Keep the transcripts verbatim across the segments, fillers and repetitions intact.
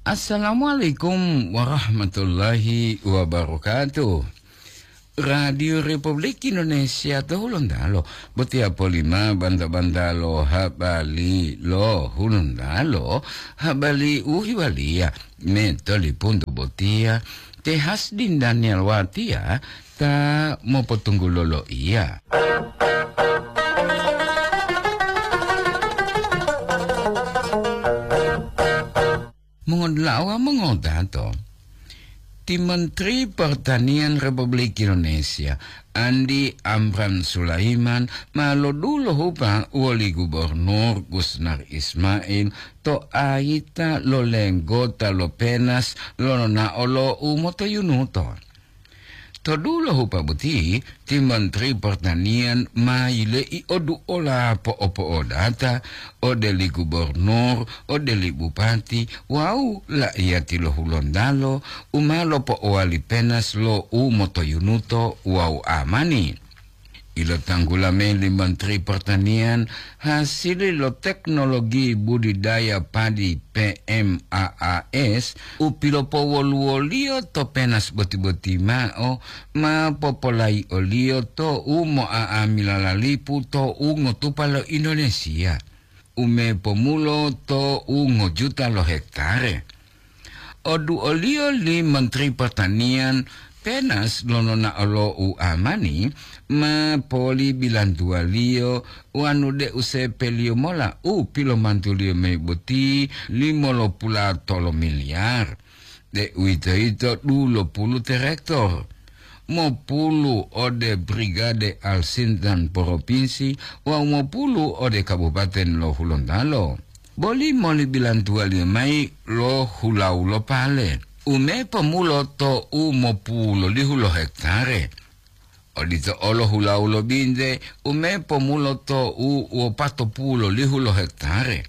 Assalamualaikum warahmatullahi wabarakatuh. Radio Republik Indonesia to Hulontalo, botiya polima banta-banta lo habari lo Hulontalo, habari u hiwaliya me tolipuntu botiya, te Hasdin Daniel Watiya ta mopotunggulo loiya. Mongodula'a wawu mongodato, ti Menteri Pertanian Republik Indonesia, Andi Amran Sulaiman, ma lodulohupa woli Gubernur Gusnar Ismail to ayita lo lenggota lo Penas lonao lo u motoyunuto. To dulo hupa boti, ti Menteri Pertanian ma yile'i oduola po'opo'odata ode li gubernur, ode li bupati, wawu la'iyati lo Hulontalo u ma lopo'owali Penas lo u motoyunuto wawu amani. Ilotanggula mayi li Menteri Pertanian, hasili lo teknologi budidaya padi P M A A S u pilopowoluwoliyo to Penas boti-boti mao ma popolayi'oliyo to u mo'a'amila lalipu to u ngotupa lo Indonesia, u mepomulo to u ngojuta lo hektare. Oduoliyo li Menteri Pertanian, Penas lonao lo u amani ma polibilantuwaliyo wanu de'u sepeliyo mola u pilomantuliyo mayi boti limolopula tolo miliyar, de'uwitoyito dulopulu terektor, mopulu ode Brigade Al-Sintan Propinsi wawu mopulu ode Kabupaten lo Hulontalo. Boli moli bilantuwaliyo mayi lo hulawu lo pale, u mepomulo to u mopulolihu lo hektare. Odito olo hulawu lo binte, u mepomulo to u wopatopulolihu lo hektare.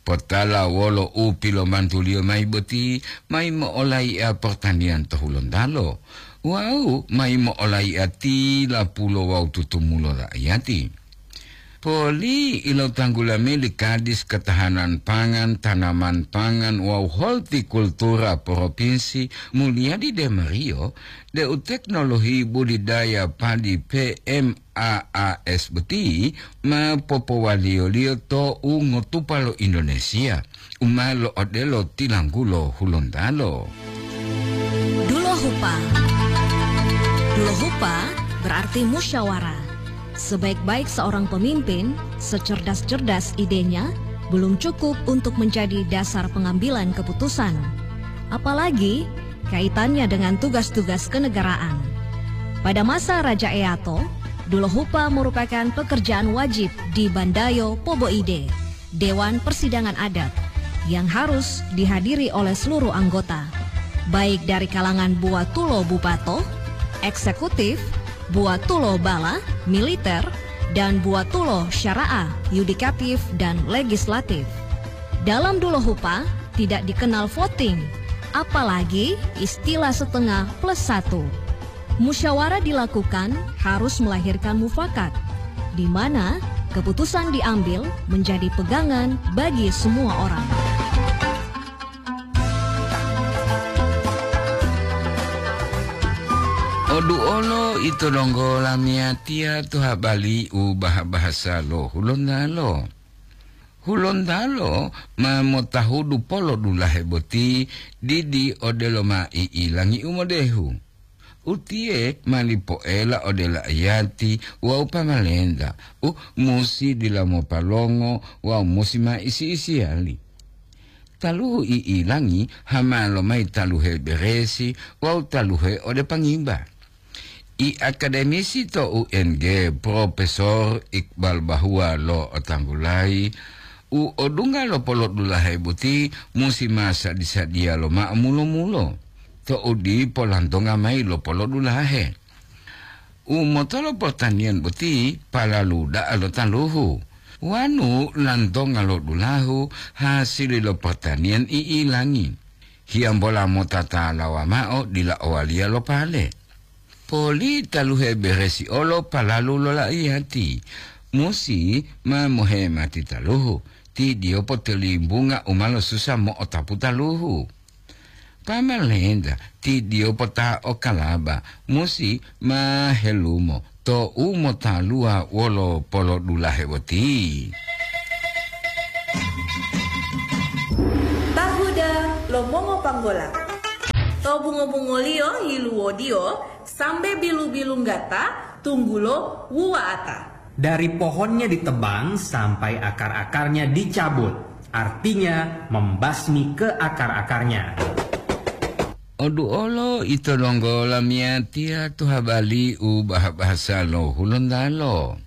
Potala wolo u pilomantuliyo mayi boti, mayi mo'olai'a pertanian to Hulontalo, wawu mayi mo'olai'a tilapulo wawu tutumulo raiyati. Poli ilotanggula mayi li Kadis Ketahanan Pangan, Tanaman Pangan wawu Hortikultura Propinsi Mulyadi Demario, deu teknologi budidaya padi P M A A S boti ma popowaliyoliyo to u ngotupa lo Indonesia, u ma lo'odelo tilanggulo Hulontalo. Dulohupa. Dulohupa berarti musyawarah. Sebaik-baik seorang pemimpin, secerdas-cerdas idenya, belum cukup untuk menjadi dasar pengambilan keputusan. Apalagi kaitannya dengan tugas-tugas kenegaraan. Pada masa Raja Eato, Dulohupa merupakan pekerjaan wajib di Bandayo Poboide, Dewan Persidangan Adat, yang harus dihadiri oleh seluruh anggota, baik dari kalangan buatulo bupato, eksekutif, buatulo bala, militer, dan buatulo syara'ah, yudikatif, dan legislatif. Dalam Dulohupa tidak dikenal voting, apalagi istilah setengah plus satu. Musyawarah dilakukan harus melahirkan mufakat, di mana keputusan diambil menjadi pegangan bagi semua orang. Odu olo ito donggo lamiyatiya to habali u baha-bahasa lo Hulontalo. Hulontalo ma motahudu polo dulahe boti didi odelo ma i'ilangi u modehu. Utiye ma lipoela ode la'iyati wawu pamalenta u musi dila mopalongo wawu musi ma isi-isiyali. Taluhu i'ilangi hama lomayi taluhe beresi wawu taluhe ode pangimba. I akademisi to U N G, Profesor Iqbal Bahua lo'otanggulayi, u odungga lo polodulahe boti musi ma sadi-sadiya lomao mulo-mulo, to'u dipo lantonga mayi lo polodulahe. U motolo pertanian boti palalu da'a lo taluhu, wanu lantonga lo dulahu hasili lo pertanian i'ilangi. Hiyambola mota talawa mao dila owaliya lo pale. Poli taluhe beresi olo palalu lo la'iyati, musi ma mohemati taluhu, Tidiyo potolimbunga u ma losusa mo'otapu taluhu. Pamalenta, tidiyo pota o kalaba, musi ma helumo to u motaluwa wolo polodulahe boti. Tahuda lo mongo panggola. To bungo-bungoliyo yiluwodiyo sambe bilu-bilunggata, tunggulo wuwa'ata. Dari pohonnya ditebang sampai akar-akarnya dicabut, artinya membasmi ke akar-akarnya. Oduolo ito donggo lamiyatiya to habali u bahasa lo Hulontalo.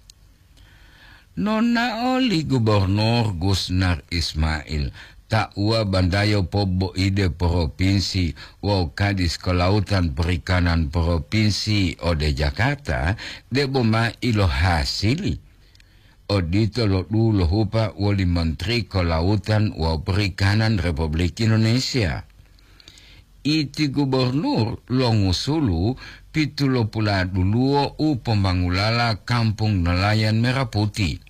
Nonao li Gubernur Gusnar Ismail, tauwa bandayo poboide propinsi wawu Kadis Kelautan Perikanan Propinsi ode Jakarta, debo ma ilohasili. Odito lo dulohupa woli Menteri Kelautan wawu Perikanan Republik Indonesia. Iti gubernur longusulu pitulopula duluwo u pomangulala Kampung Nelayan Merah Putih,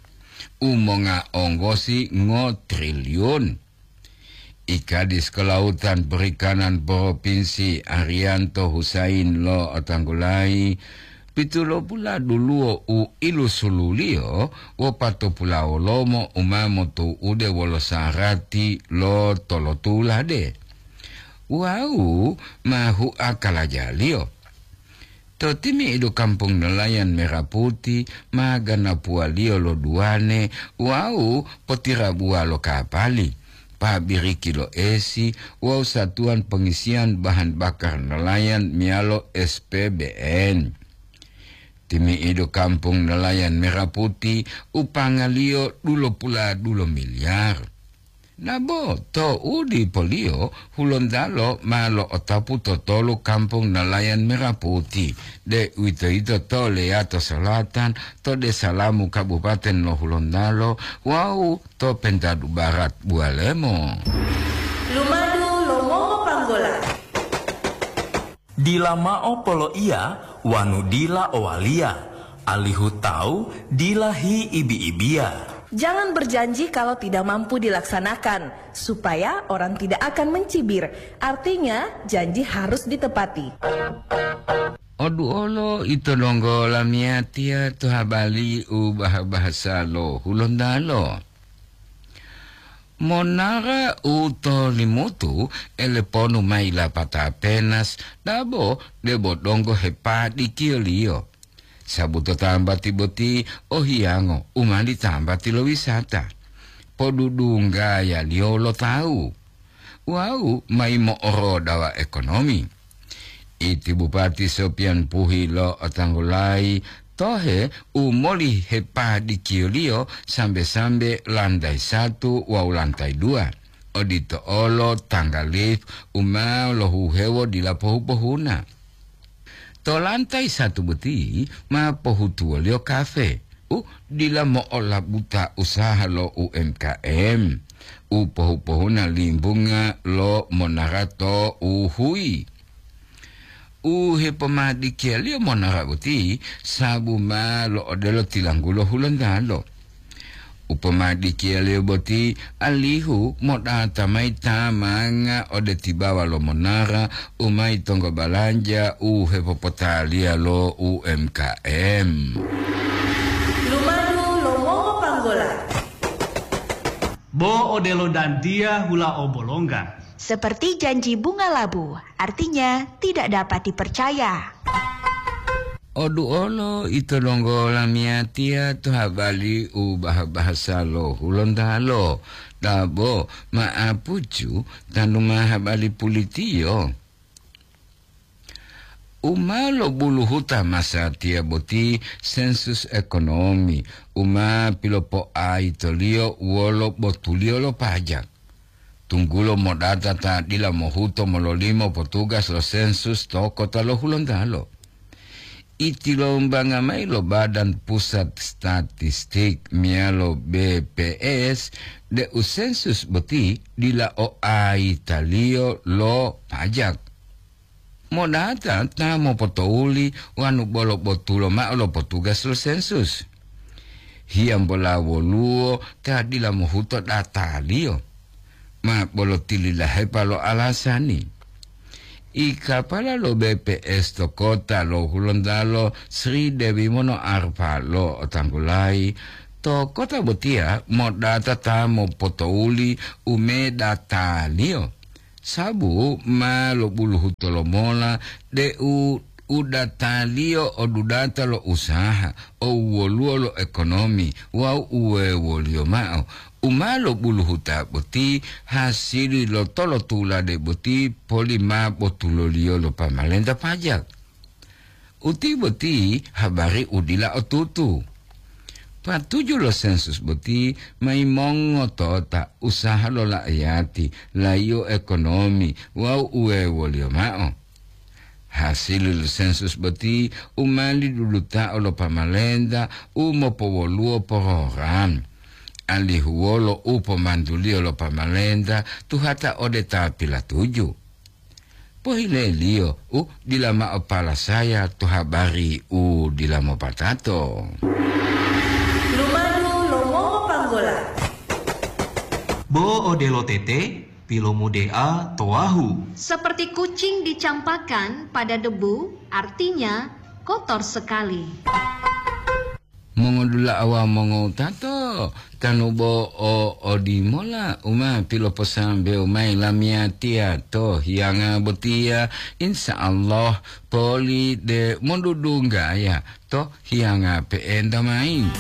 u monga onggosi ngo triliun. I Kadis Kelautan Perikanan Propinsi Arianto Husain lo'otanggulayi, pitulopula duluwo u ilusululiyo wopatopulawolomo u ma motu'ude wolo sarati lo tolotulade. Wawu ma huakalajaliyo. To timi'idu Kampung Nelayan Merah Putih ma ganapuwaliyo lo duwane wawu potirabuwa lo kapali, pabiriki lo esi wawu satuwan pengisiyan bahan bakar nelayan meyalo S P B N. Timi'idu Kampung Nelayan Merah Putih upangaliyo dulopuladulo miliar. Nabo to u dipoliyo Hulontalo ma lo'otapu to tolu Kampung Nelayan Merah Putih, deuwitoyito to Leyato Selatan, to Desa Lamu Kabupaten lo Hulontalo wawu to Pentadu Barat Buwalemo. Lumadu lo mongo panggola. Dila mao poloiya wanu dila owaliya, alihu tawu dila hiibi-ibiya. Jangan berjanji kalau tidak mampu dilaksanakan, supaya orang tidak akan mencibir. Artinya, janji harus ditepati. Oduolo ito donggo lamiyatiya to habali u bah-bahasa lo Hulontalo. Monara u to Limutu eleponu mayi lapata penas, dabo debo donggo hepadikiyoliyo. Sabuto tambati boti o hiyango u ma ditambati lo wisata, podudunggayaliyo lo tawu, wawu mayi mo'orodawa ekonomi. Iti Bupati Sopian Puhi lo'otanggulayi tohe u moli hepadikiyoliyo sambe-sambe lantai satu wawu lantai dua, odito olo tangga lift u ma lohuhewo dila pohu-pohuna. To lantai satu boti ma pohutuwoliyo kafe u dila mo'olabuta usaha lo U M K M, u pohu-pohuna limbunga lo monara to uhuyi. U hepomadikiyaliyo monara boti sabu ma lo'odelo tilanggulo Hulontalo. U pomadikiyaliyo boti alihu modata mayi tamanga ode tibawa lo monara u mayi tonggo balanja u hepopotaliya lo U M K M. Lumadu lo mongo panggola. Bo odelo dantiya hula o bolongga. Seperti janji bunga labu, artinya tidak dapat dipercaya. Oduolo ito donggo lamiyatiya to habali u bah-bahasa lo Hulontalo, dabo ma'apucu tanu ma habali pulitiyo. U ma lobuluhuta masatiya boti sensus ekonomi u ma pilopoaitoliyo wolo botuliyo lo pajak. Tunggulo modata ta dila mohuto mololimo potugas lo sensus to kota lo Hulontalo. Itilombanga mayi lo Badan Pusat Statistik meyalo B P S deu sensus boti dila o aitaliyo lo pajak. Modata ta mopotouli wanu bolo botulo mao lo potugas lo sensus. Hiyambola woluwo ta dila mohuto dataliyo? Ma bolo tililahepa lo alasani. I kapala lo B P S to kota lo Hulontalo Sri Dewi Mono Arfa lo otanggulayi, to kota botiya modata ta mopotouli umedataliyo. Sabu ma lobuluhu tolomola deu udataliyo o dudata lo usaha, o wuwoluwo lo ekonomi wawu uwewoliyo ma'o. U ma lobuluhuta boti hasili lo tolotulade boti poli ma botuloliyo lo pamalenta pajak. Uti boti habari u dila otutu. Patuju lo sensus boti ma yimongotota usaha lo la'ayati, layiyo ekonomi wawu uwewoliyo ma'o. Hasili lo sensus boti u ma lidudutao lo pamalenta u mopowoluwo porogram, alihu wolo u pomantuliyo lo pamalenta tuhata ode ta pilatuju. Pohileliyo u dila mao palasaya to habari u dila mopatato. Lumadu lo mongopanggola. Bo odelo tete, pilomudea to wahu. Seperti kucing dicampakkan pada debu, artinya kotor sekali. Mongodula'a wawu mongowutato, tanu bo o odimola u ma piloposambewo mayi lamiyatiya to hiyanga botiya, insya Allah poli de mondudunggaya to hiyanga pe'enta mayi.